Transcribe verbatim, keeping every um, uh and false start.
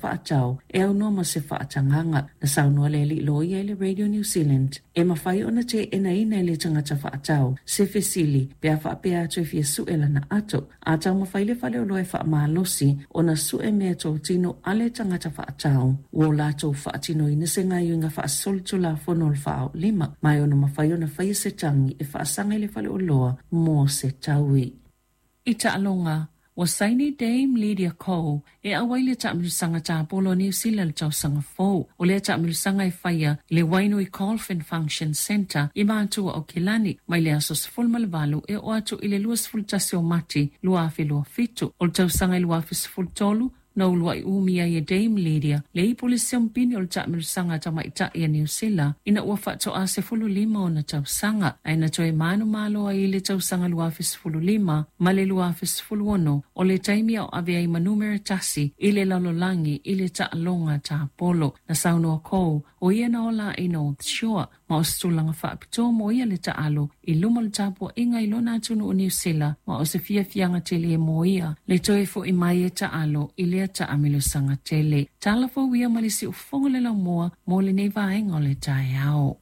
faatau e aunoa ma se faatagaga. Na saunoa le alii loia i le Radio New Zealand e mafai ona teenaina e le tagata faatau se fesili pe a faapea atu e fia sue lana ato. A taumafai le faleoloa e faamalosi ona sue meatotino a le tagata faatau, ua latou faatinoina se gaoioiga faasolitulafono o le faaolima, ma e ono mafai ona faia se tagi e faasaga i le faleoloa mo se taui. I taaloga, ua saini Dame Lydia Cole e auai le taamilosaga tapolo a Niu Sila le tausaga fou. O lea taamilosaga e faia i le Wainui Golf and Function Centre i Matua o Kilani mai le aso sefulu ma le valu e oo atu i le luasefulu tasi o Mati lua afe lua fitu. O le tausaga i lua afe sefulu tolu na uluai umia ai e Dame Lydia le ipu le siampini o le taamilosaga tamaitai a Niu Sila ina ua faatoa sefulu lima ona tausaga, ae na toe manumalo ai i le tausaga lua afe sefulu lima ma le lua afe sefulu ono, o le taimi ao ave ai ma numera tasi i le lalolagi i le taaloga tapolo. Na saunoa Cole o ia na ola i North Shore, ma o se tulaga faapitoa mo ia le taalo i luma o le tapuaiga i lona atunuu Niu Sila, ma o se fiafiaga tele mo ia le toe fo'i mai e taalo i lea taamilosaga tele. Tala fou ia ma le siufofoga le laumua mo lenei vaega o le taeao.